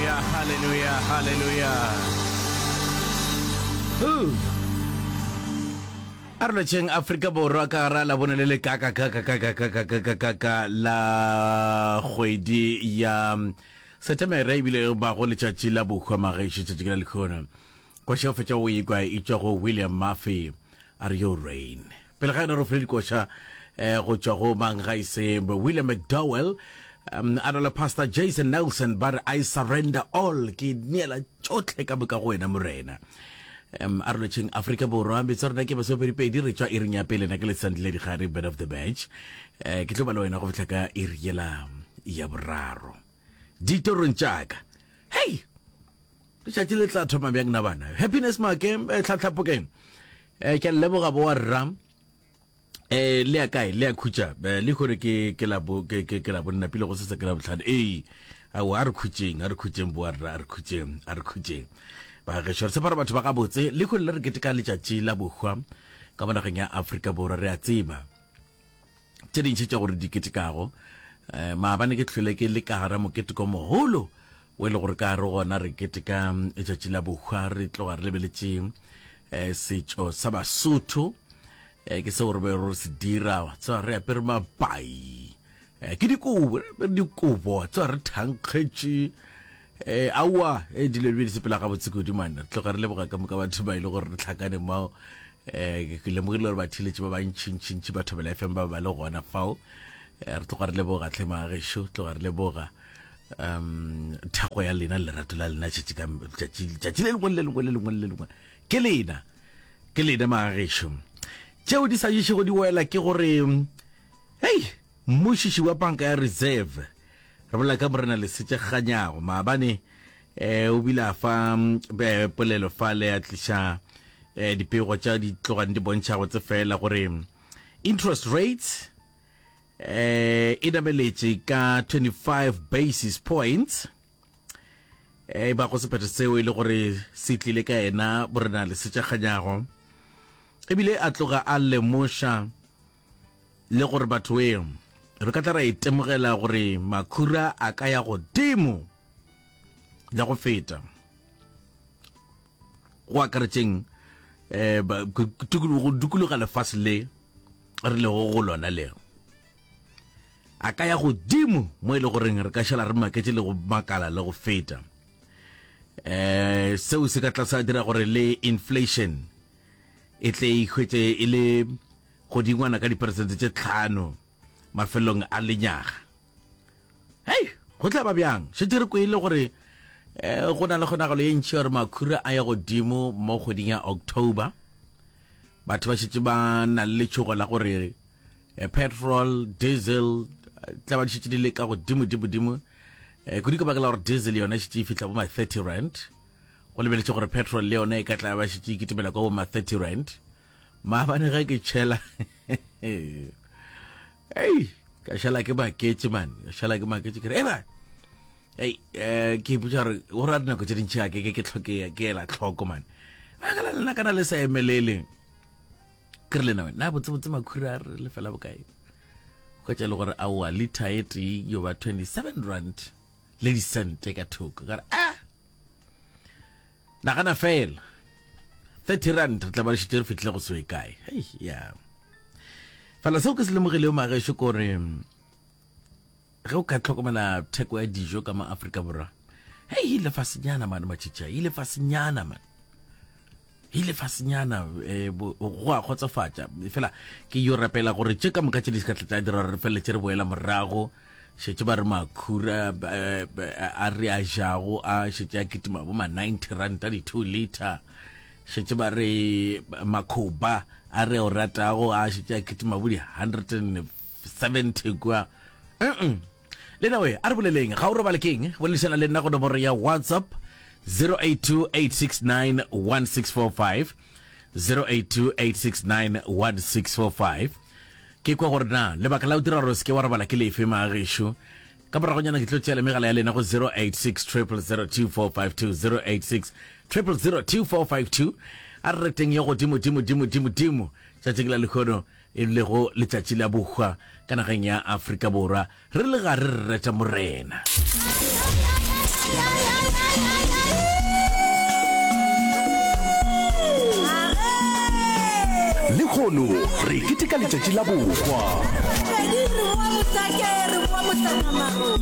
Hallelujah, hallelujah, hallelujah. Ooh. A re lotšheng Afrika Borwa ka gara la bone le le kaka kaka kaka kaka kaka kaka la kgwedi ya Setemere ebile e bago letšatši la bohwa magešo tšatši ke la lekhono. Koša o fetša go ikwa e tšwa go William Murphy a re yo rain. Pele ga yona re file dikoša eh, go tšwa go mang ga ise William McDowell um, a na le Pastor Jason Nelson ba re I surrender all ke neela tšohle ka moka go wena morena. Um, a re lotšheng Afrika Borwa metso rena ke masomepedipedi re tšwa iring ya pele na ke lesandile digare bed of the batch eh, ke tlo ba le wena go fihla ka iri yela ya boraro ditorong tšaka hei Letšatši le tla thoma bjang na bana? Happiness Make, eh, tlhatlhapokeng. Eh, ke a leboga bo wa rra. Eh, le ya kae? Le ya khutša. Eh, le gore ke ke la bo ke ke ke la bonna pele go se ke la botlhano. Ee. Ao a re khutšeng, a re khutšeng bo wa rra, a re khutšeng, a re khutšeng. Ba gešo re tshepa gore batho ba gabotse le gore le re keteka letšatši la bohwa ka mo nageng ya Afrika Borwa re a tseba. Tše dintši tša gore di ketekago. Eh, maabane ke hlwele ke le ka gara moketeko mogolo o e le gore ka gare gona re keteka mm, letšatši la bohwa re tloga re lebeletše eh, setšo sa Basotho eh, ke seo re be re se dira tseba re apere mapai eh, ke dikobo re apere dikobo tseba re thankgetše eh, aowa eh, dilo di be di sepela gabotse kudu mane re tloga re leboga ka moka batho ba e le gore re tlhakane mao eh, ke lemogile gore batheeletši ba bantšhintšhintši ba Thobela FM ba ba le gona fao eh, re tloga re leboga tlhe magešo tloga re leboga um thekgo ya lena lerato la lena tšatši ka tšatši le lengwe le lengwe le lengwe le lengwe ke lena ke lena magešo tšeo di sa ješego di wela ke gore hei mmušiši wa panka ya reserve re bolela ka morena lesetše kganyago maabane eh o bile a fa eh, polelo fale a tliša eh, dipego tša di tlogang di bontšha go tse fela gore interest rates eh e nameletše ka 25 basis points e ba go sephetho seo e le gore se tlile ka yena borena lesetšakganyago ebile a tloga a lemoša le gore batho e re ka tla ra itemogela gore makhura a ka ya godimo le go feta go akaretšeng um go dikologa lefase le re lego go lona le a ka ya godimo mo e le goreng re ka šala re maketše le go makala le go feta um seo se ka tla sa dira gore le inflation e tle e hwetše e le godingwana ka diperesente tše tlhano mafelong a lenyaga hei go tla ba bjang šetše re kwele gore um go na le kgonagalo ye ntši gore makhura a ya godimo mo kgweding ya october batho ba šetše ba na le letšhogo la gore eh, petrol diesel eh, tla ba di šetše di le ka godimo dimo dimo eh, kudu ka baka la gore diesel yona e šetše e fihla bo ma 30 rand go lebeletše gore petrol le yona e ka tla ba šetše e kitimela kwa bo ma 30 rand maabane ge ke tšhela ei ka šala ke maketše man ka šala ke maketše ke re eba ei eh, ke ipotša gore go ra dinako tše dintši ga ke ke ke tlhoke ke ela tlhoko man ba ka la lena kana le sa emelele ke re lena wena na botsebotse makhura a re lefela bokae hwetša e le gore aowa liter e tee yo ba 27 rand le disente ka thoko ka re ah Nagana feela, 30 rand re tla ba re šetše re fihlile go se kae. Hei, ya. Fela seo ke se lemogilego magešo ke gore ge o ka hlokomela theko ya dijo ka mo Afrika Borwa, hei, ile fasenyana mane matšhitšha, ile fasenyana mane. Ile fasenyana eh, go a kgotsofatša. Fela ke yo rapela gore tše ka moka tše di se ka tla tša dira gore re feleletše re boela morago. Šetše ba re makhura eh, a re a jago a šetše a kitima bo ma 90 ranta di 2 liter. Šetše ba re makhoba a re o ratago a šetše a kitima bo di 170 kua. Mm Le na we, a re boleleng, ga o robale keng? Boledišana le nna go nomoro ya WhatsApp 0828691645 0828691645 Ke kwa gore na lebaka la go dira gore o se ke wa robala ke lefe, magagešo. Ka moragonyana ke tlo tšea le megala ya lena go 086 0002452 086 0002452 A re reteng yo godimo dimo dimo dimo dimo tšatšing la lehono e lego letšatši la bohwa ka nageng ya Afrika Borwa re le gare re reta Morena. Lehono re keteka letšatši la bohwa. Pedi re boa Mohlake, re boa Mohlakamago, re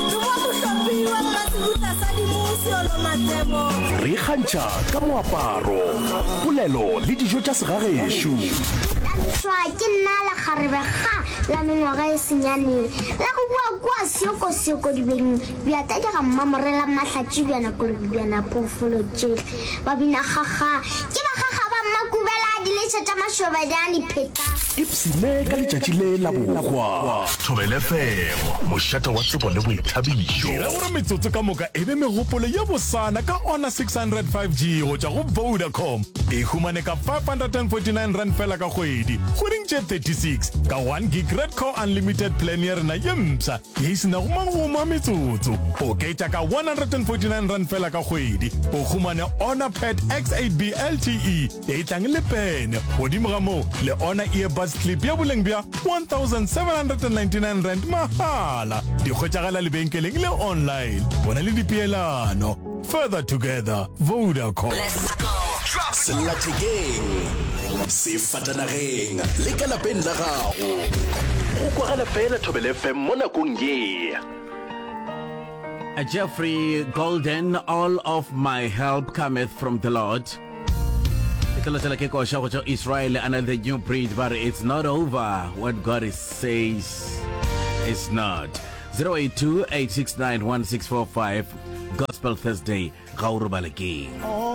boa Mohlopi wa Mmasebutla sa Dimo Seolo Matlebo. Re ikgantšha ka moaparo, polelo le dijo tša segagešo. Thabišwa ke nna lekgarebe ga la mengwaga e senyane la go boa kua Seokosoko dibeng bja tadi ga Mmamorela Mahlatši bjana kolobi bjana phoofolo tšehle ba bina kgakga ke bakgakga ba Mmakubela diletšha tša mašobanyane pheta. Ipshine ka letšatši le la bohwa. Thobela FM, mošate wa tsebo le boithabišo. Dira gore metsotso ka moka e be megopolo ye bosana ka Honor 600 5G go tšwa go Vodacom. E humane ka R549 feela ka kgwedi, kgweding tše 36, ka 1 gig Red Core Unlimited plan ya rena ye mpsha ye e se nago magomo a metsotso. Oketša ka R149 feela ka kgwedi, o humane Honor Pad X8B LTE e tlang le pene, godimo ga moo le Honor Earbuds Clip ya boleng bja R1799 mahala. Di hwetšagala lebenkeleng le online. Bona le dipeelano. Further together, Vodacom. Sellathekeng, sefatanageng le ka lapeng la gago. Go kwagala fela Thobela FM mo nakong ye. Jeffrey Golden, All of my help cometh from the Lord. E tla latela ke koša go tšwa Israel and the new breed ba re it's not over what God is says is not. 082 869 1645 Gospel Thursday ga o robale keng.